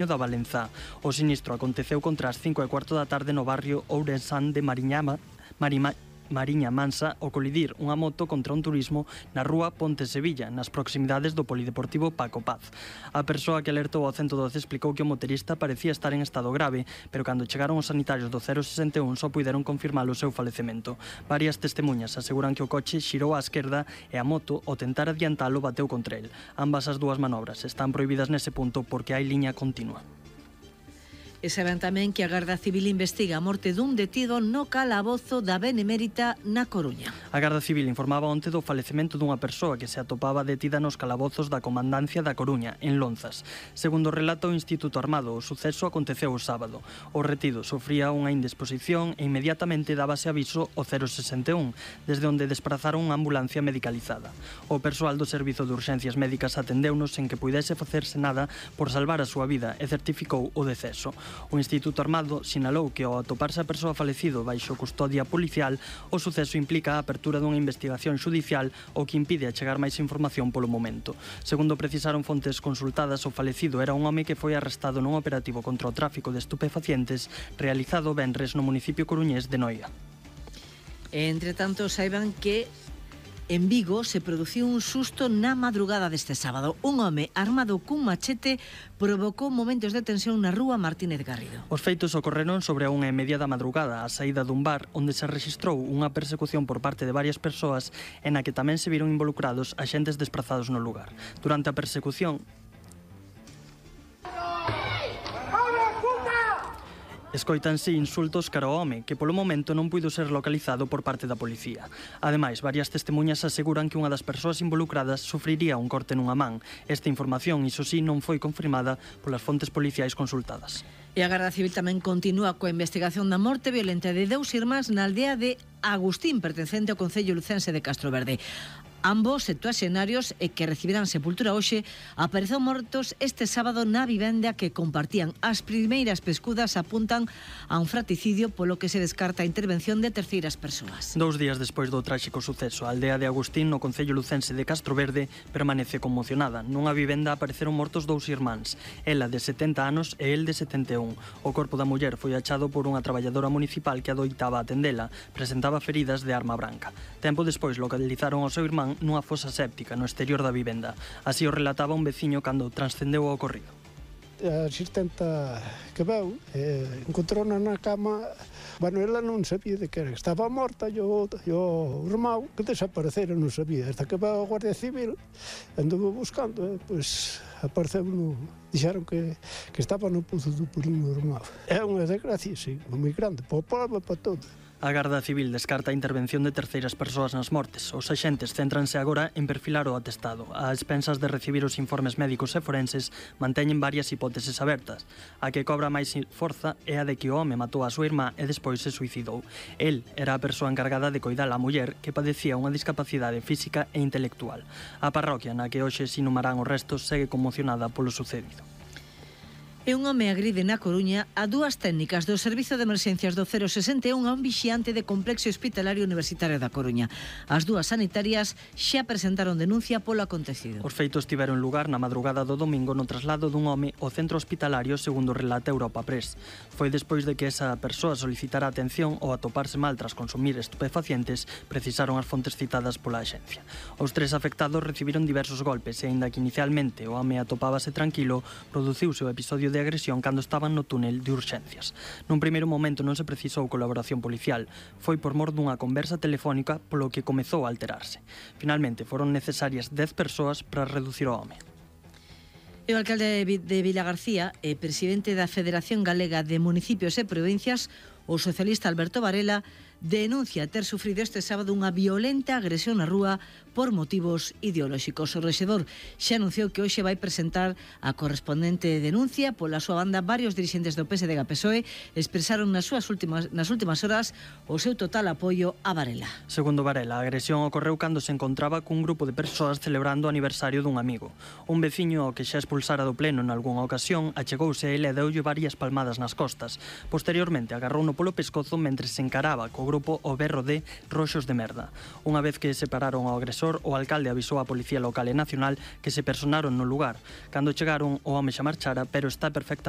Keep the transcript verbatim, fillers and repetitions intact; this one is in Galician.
da Valenzá. O sinistro aconteceu contra as cinco e cuarto da tarde no barrio Ourensán de Mariñama, Marima, Mariña Mansa ao colidir unha moto contra un turismo na rúa Ponte Sevilla, nas proximidades do polideportivo Paco Paz. A persoa que alertou ao ciento doce explicou que o motorista parecía estar en estado grave, pero cando chegaron os sanitarios do cero sesenta e un só puideron confirmar o seu falecemento. Varias testemunhas aseguran que o coche xirou á esquerda e a moto, ao tentar adiantalo, bateu contra el. Ambas as dúas manobras están prohibidas nese punto porque hai liña continua. E saben tamén que a Garda Civil investiga a morte dun detido no calabozo da Benemérita na Coruña. A Garda Civil informaba onte do falecemento dunha persoa que se atopaba detida nos calabozos da Comandancia da Coruña, en Lonzas. Segundo relata o Instituto Armado, o suceso aconteceu o sábado. O retido sofría unha indisposición e inmediatamente dábase aviso ao cero sesenta e un, desde onde desprazaron unha ambulancia medicalizada. O persoal do Servizo de Urxencias Médicas atendeunos sen que puidese facerse nada por salvar a súa vida e certificou o deceso. O Instituto Armado sinalou que ao atoparse a persoa falecido baixo custodia policial, o suceso implica a apertura dunha investigación xudicial o que impide achegar máis información polo momento. Segundo precisaron fontes consultadas, o falecido era un home que foi arrestado nun operativo contra o tráfico de estupefacientes realizado venres no municipio coruñés de Noia. Entre tanto, saiban que en Vigo se produciu un susto na madrugada deste sábado. Un home armado cun machete provocou momentos de tensión na rúa Martínez Garrido. Os feitos ocorreron sobre a unha e media da madrugada, a saída dun bar onde se rexistrou unha persecución por parte de varias persoas e na que tamén se viron involucrados axentes desprazados no lugar. Durante a persecución, escoitanse insultos cara ao home, que polo momento non puido ser localizado por parte da policía. Ademais, varias testemunhas aseguran que unha das persoas involucradas sufriría un corte nunha man. Esta información, iso sí, non foi confirmada polas fontes policiais consultadas. E a Garda Civil tamén continúa coa investigación da morte violenta de dous irmáns na aldea de Agustín, pertencente ao concello lucense de Castroverde. Ambos septuaxenarios e que recibirán sepultura hoxe apareceu mortos este sábado na vivenda que compartían. As primeiras pescudas apuntan a un fratricidio, polo que se descarta a intervención de terceiras persoas. Dous días despois do tráxico suceso, a aldea de Agustín, no concello lucense de Castroverde, permanece conmocionada. Nunha vivenda apareceron mortos dous irmáns, ela de setenta anos e el de setenta e un. O corpo da muller foi achado por unha traballadora municipal que adoitaba atendela. Presentaba feridas de arma branca. Tempo despois localizaron ao seu irmán nunha fosa séptica no exterior da vivenda. Así o relataba un veciño cando transcendeu o ocorrido. A asistenta que veu eh, encontrou-na na cama. Bueno, ela non sabía de que era, estaba morta, e o, o irmão que desaparecera non sabía, hasta que veu a Guardia Civil, anduvo buscando, e, pois, apareceu no, dixeron que, que estaba no Pozo do Purín o irmão. É unha desgracia, sí, moi grande, para o povo e para todo. A Garda Civil descarta a intervención de terceiras persoas nas mortes. Os axentes céntranse agora en perfilar o atestado. A expensas de recibir os informes médicos e forenses, manteñen varias hipóteses abertas. A que cobra máis forza é a de que o home matou a súa irmá e despois se suicidou. El era a persoa encargada de coidar a muller que padecía unha discapacidade física e intelectual. A parroquia na que hoxe se inhumarán os restos segue conmocionada polo sucedido. E un home agride na Coruña a dúas técnicas do Servizo de Emerxencias do cero sesenta e un a un vixiante de Complexo Hospitalario Universitario da Coruña. As dúas sanitarias xa presentaron denuncia polo acontecido. Os feitos tiveron lugar na madrugada do domingo no traslado dun home ao centro hospitalario, segundo relata Europa Press. Foi despois de que esa persoa solicitara atención ou atoparse mal tras consumir estupefacientes, precisaron as fontes citadas pola axencia. Os tres afectados recibiron diversos golpes e, aínda que inicialmente o home atopábase tranquilo, produciuse o episodio de agresión cando estaban no túnel de urxencias. Nun primeiro momento non se precisou colaboración policial. Foi por mor dunha conversa telefónica polo que comezou a alterarse. Finalmente foron necesarias dez persoas para reducir o home. E o alcalde de Vilagarcía e presidente da Federación Galega de Municipios e Provincias, o socialista Alberto Varela, denuncia ter sufrido este sábado unha violenta agresión na rúa por motivos ideolóxicos. O rexedor xa anunciou que hoxe vai presentar a correspondente denuncia. Pola súa banda, varios dirixentes do P S D e P S O E expresaron nas súas últimas, nas últimas horas o seu total apoio a Varela. Segundo Varela, a agresión ocorreu cando se encontraba cun grupo de persoas celebrando o aniversario dun amigo. Un veciño ao que xa expulsara do pleno en algunha ocasión achegouse a ele e deulle varias palmadas nas costas. Posteriormente agarrouno polo pescozo mentre se encaraba co grupo o berro de roxos de merda. Unha vez que separaron ao agresor agresor, o alcalde avisou a Policía Local e Nacional que se personaron no lugar. Cando chegaron, o home xa marchara, pero está perfectamente